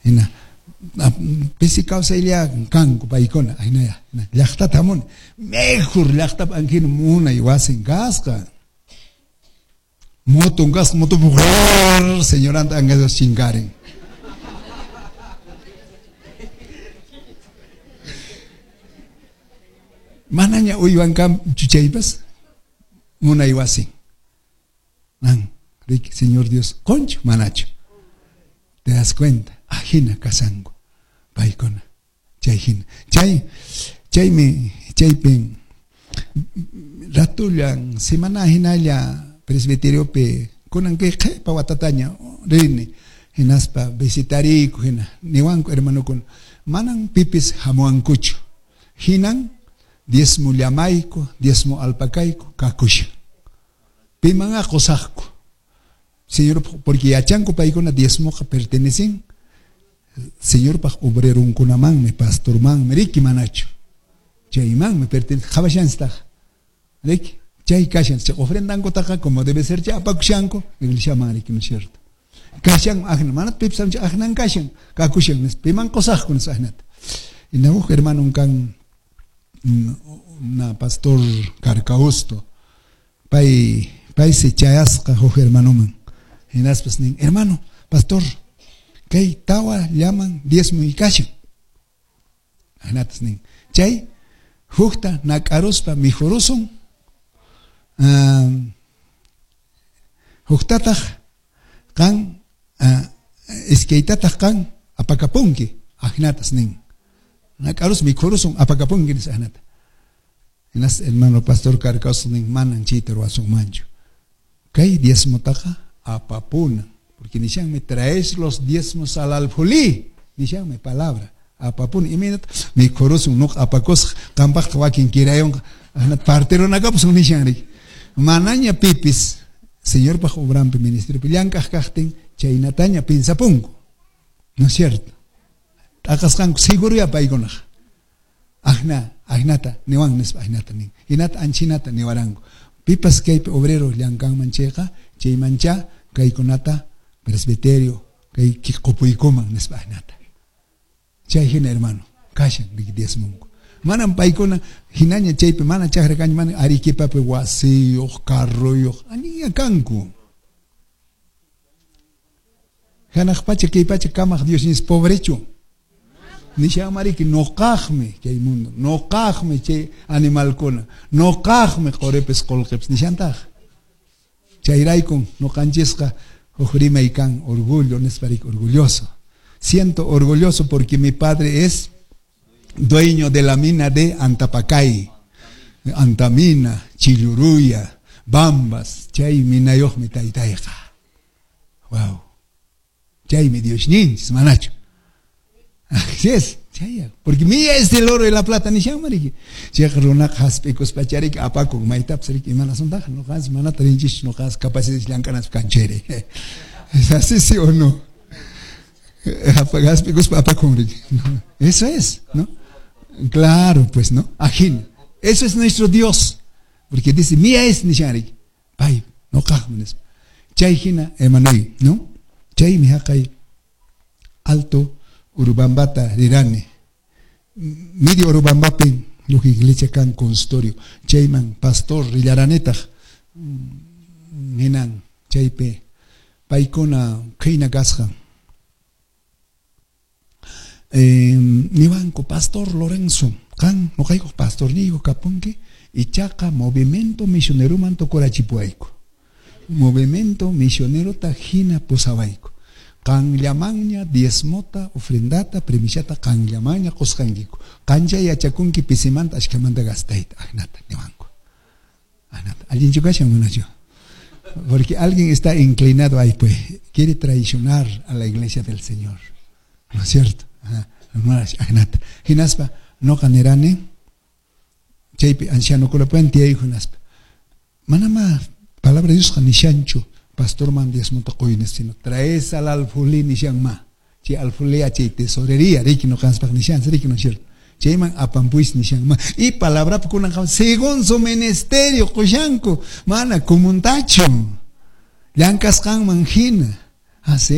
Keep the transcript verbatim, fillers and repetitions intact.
Hina pisi kawsaylla kanku paykuna ahinaya llaqtata hamuni mejor llaqtapa anhina munay wasin kasqa moton kasqa motopi señoranta angaspas chinkarin. Manaña uywan kanchu chaypas munay wasin. Nan, riki, Señor Dios, qonchu manachu. Te das cuenta, ajina kasanku paykuna chay hina. Chay chaymi chaypin ratullan semana hinalla presbiteriopi kunan kay qhipa watataña rini hinaspa visitariku hina niwanku hermanokuna manan pipis hamuwankuchu hinan diezmo llamayku diezmo alpakayku kakushan pimanqa qusaqku Señor, porque yachanku paykuna diezmoqa pertenecen Señorpaq obrerunkunamanmi pastormanmi riki manachu chaymanmi pertenece qhawashanstaq riki chay kashan chay ofrendankutaqa como debe ser chay apakushanku iglesiaman riki, ¿no es cierto? Kashan ajna mana pipis ajnan kashan kakushan piman qusaqku nispa ajnata. Hina huk hermanon kan na pastor Carcausto pay paysi chayasqa huk hermanoman hinaspas nin hermano pastor kay tawa llaman diezmo kashan ajnatas nin chay hukta nak'aruspa mikhurusun huktataq qan iskaytataq qan apakapunki ajnatas nin nak'arus mikhurusun apakapunki nispa ajnata. Hinas hermano pastor Carcausto nin manan chayta ruwasunmanchu kay diezmotaqa apapuna porque nishanmi traes los diezmos al alfolí nishanmi palabra apapuna imaynata mikhurusun nuqa apakusaq qampaqta wakin kirayunqa ajnata partirunakapusun nishan riki manaña pipis Señorpaq obranpi ministeriopi llank'aq kaqtin chaynataña pinsapunku, ¿no es cierto? T'aqasqanku seguruya paykunaq ajna ajnata niwan nispa ajnata nin hinata anchinata niwaranku pipas kaypi obrero llankanman chayqa chaymancha kaykunata presbiterio kay qupuykuman nispa ajnata chay hina hermano kashan riki diezmonku manam paykuna hinaña chaypi mana chakra kanchu mana Arequipapi wasiyuq carruyuq allinña kanku hanaq pacha kay pacha kamaq Dios nis pobrechu nishanmariki nuqaqmi chay mundo nuqaqmi chay animalkuna nuqaqmi quripis qullqipis nishantaq chayraykun nuqanchisqa huk rimay kan orgullo nispa riki orgulloso siento orgulloso porque mi padre es dueño de la mina de Antapacay, Antamina, Chilluruya, Bambas, chay minayuqmi taytayqa. Wow. Chaymi Diosninchis manachu. Así es, chay, porque mía es el oro y la plata nishanma riki. Chayqa runaqa hasp'ikuspa riki apakun maytapas riki imanasuntaq nuqanchis manata rinchis nuqanchis capacidad llank'anachis kanchayri. ¿Es así sí o no? Hasp'ikuspa apakun riki. Eso es, ¿no? Claro, pues, ¿no? Ajín. Eso es nuestro Dios. Porque dice, mía es nishanrik. Pay, no kajman. Chay hina hermanoy, ¿no? Chay mi haqay alto Urubambata rirani. Medio Urubambapi, huk iglesia kan consultorio. Chayman pastor rillaranetaq. Hinan chaypi paykuna qhayna kasqa. Eh, niwanku pastor Lorenzo qan nuqaykuq pastorniyku kapunki ichaqa movimiento misioneroman tukurachipuwayku movimiento misionerota hina pusawayku qanllamanña diezmota ofrendata primiciata qanllamanña qusqankiku qancha yachakunki pisimanta ashkamanta gastayta ajnata niwanku ajnata allinchu kashan manachu porque alguien está inclinado ahí pues quiere traicionar a la iglesia del Señor, ¿no es cierto? Ajnata hinaspa noqa nirani chaypi ancianokunapuwan tiyayku hinaspa manama palabra de Diosqa nishanchu pastorman diezmota quyni sino traes al alfulí nishanma chay alfulea chay tesorería riki nuqanchikpaq nishanchik riki, ¿no es cierto? Chayman apampuis nishanma y palabrapi kunan según su ministerio qushanku mana kumuntachu llank'asqanman hina así.